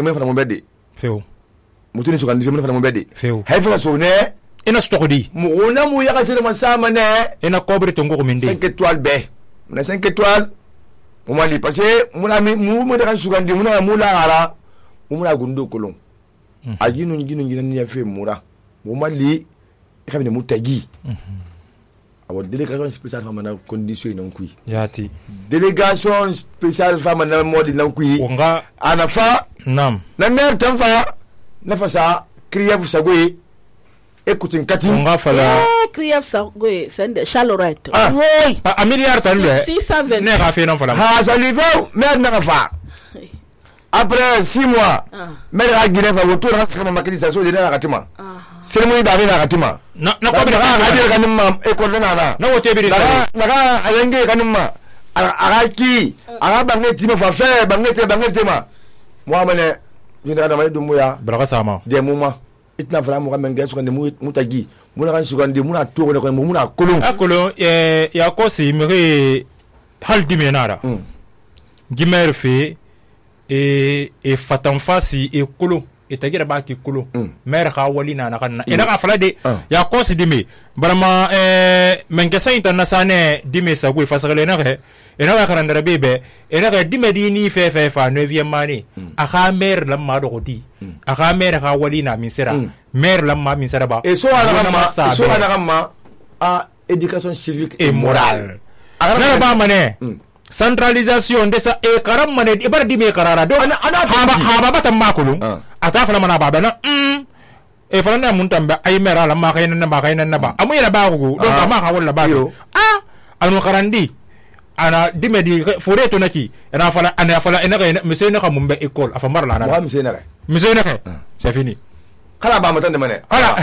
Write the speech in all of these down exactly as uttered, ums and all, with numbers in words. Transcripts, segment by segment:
mun fana mun bɛde feo mutuni sugandi mun fana mun bɛde feo hay fana so ne ina stokodi mu na mu ya kasire man sama ne ina kobre to ngoko minde cinq étoiles be na cinq étoiles mu mali parce que mu na mu mu da sugandi mu na mu la ara mu na gundo kolon ajinu nginu ngina ni yafe mura mu mali kabine mu tagi awo délégation spéciale femme na condition non kui yati délégation spéciale femme na modi non kui onga anafa nam na mer tanfa na fasa kriyev sagwe écoute kati onga fala eh kriyev sagwe sende chalorette oui a milliard tan le six cent vingt ne ga fe non fala ha salive mer na fa après six mois mer ga gine fa woto ra sama makiti sa so de na katima seremoni da na katima na na ko bi ga ga kanimma école na na na wote bi na na ayenge kanimma aga ki aga bangeti ma fa fe bangeti bangeti ma moi mane dina na mali dumuya braga sama des moments itna fara mo kamenge so kande mutagi muna kan sugandi muna to ko muna kolon akolo eh ya ko si mere hal dimenara gimer fe e e fatan fasi e kolo e tagira ba ki kolo mer ka wali na na kan ina ka fala de ya ko si dime barama eh mengesa internasane dime sagwe fasagale na ke ina ka karandara bebe ina ka dime di ni fe fe fa neuvième mani aka mer la ma do di aka mer ka wali na misera mer la ma misera ba et so ala ma so ala ma a éducation civique et morale na ba mané centralisation de sa e karam mané e bar dime karara do ana haba haba batam makulu ata fala mana baba na mm e fala na mun tamba ay mera la ma kayna na ba kayna na ba amu ila ba ko do ma ka wala ba ah al karandi ana dime di fure to naki ana fala ana fala ina ga monsieur na ka mumbe école afa mar la na wa monsieur na monsieur na ka c'est fini kala ba matan de mané ala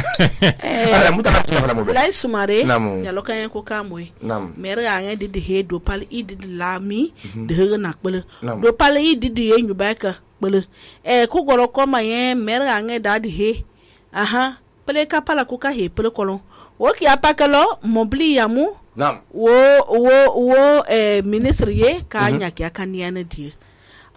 ala mutaka ci fala mo be lay sumare Namu. ya lo kan ko kamoy Namu. mer ga nga di de he do pal i di lami de he na kpele Namu. do pal i di di yenyu ba ka kpele e ku goro ko ma yen mer ga nga da di he aha pele ka pala ku ka he pele kolon wo ki apakalo mobli yamu nam wo wo wo eh ministre ye ka nya ki akania na di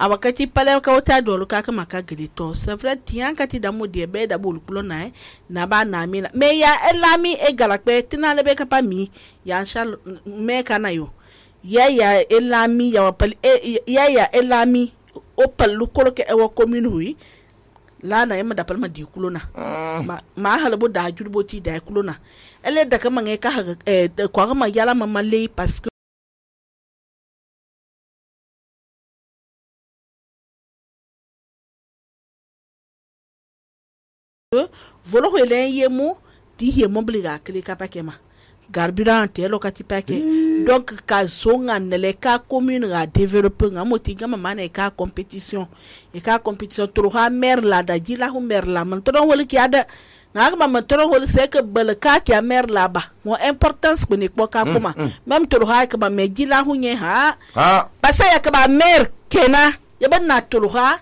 awakati pale ka wota dolu ka kama ka grito c'est vrai tian kati da modi be da bolu kulo na na ba na mi me ya elami e galakpe tinale be ka pa mi ya shal me kana yo ya ya elami ya pal ya ya elami o palu kolo ke e wo commune hui la na yema da palma di kulo na ma ma halabo da jurbo ti da kulo na ele da kama nge ka e kwa kama yala mama le parce que volo hele yemu di he mobliga kele kapakema carburant te lokati pake donc ka zonga nele ka commune ga développer nga moti gama mane ka compétition e ka compétition tro ha mer la da jila hu mer la man tro wol ki ada nga ma man tro wol c'est que bel ka ki mer la ba mo importance ko ne ko ka kuma même tro ha ka ba me jila hu nye ha ha parce ya ka ba mer kena ya ban na tro ha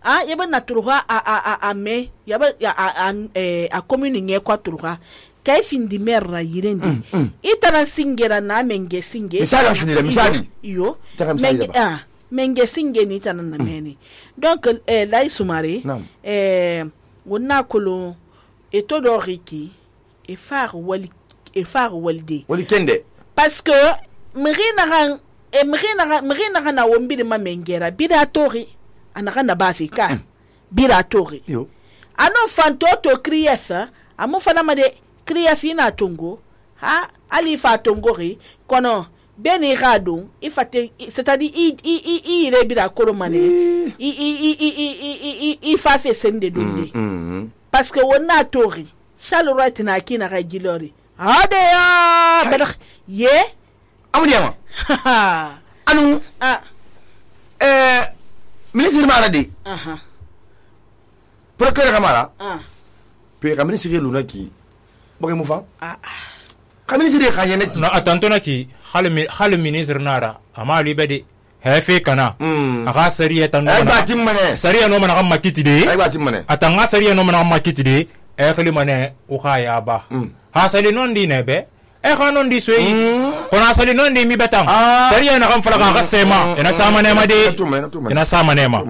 ah yaba na turuha a a a a me yaba ya a a a commune nye kwa turuha kai fin di merra yirendi mm, mm. itana singera na menge singe misali finira misali yo Taka misali menge daba. ah menge singe ni tana na meni donc eh lai sumare Naam. eh wonna kolo eto do riki e far wali e far walde wali kende parce que mrina ran e mrina ran mrina ran na wombi de ma mengera bida tori anaka na bafika bira tori yo ano fanto to kriyefa amu fana made kriyefi na tongo ha ali fa tongo ri kono beni rado ifate c'est-à-dire i i i i re bira kolo mane i i i i i i fa fe sende donde parce que wona tori shall right na kina ga gilori ade ya badak ye amudiyama anu ah eh ministre mara de aha procureur kamara ah pe ka ministre luna ki boke mu fa ah ka ministre ka yene ti na atantona ki hal hal ministre nara ama libede hefe kana aka sariya tan ay batim mane sariya no mana kamma kitide ay batim mane atanga sariya no mana kamma kitide e khali mane o khaya ba ha sali non di nebe e khanon di soyi kona sali non di mi betang sariya na kam fala ka sema ina sama ne ma de ina sama ne ma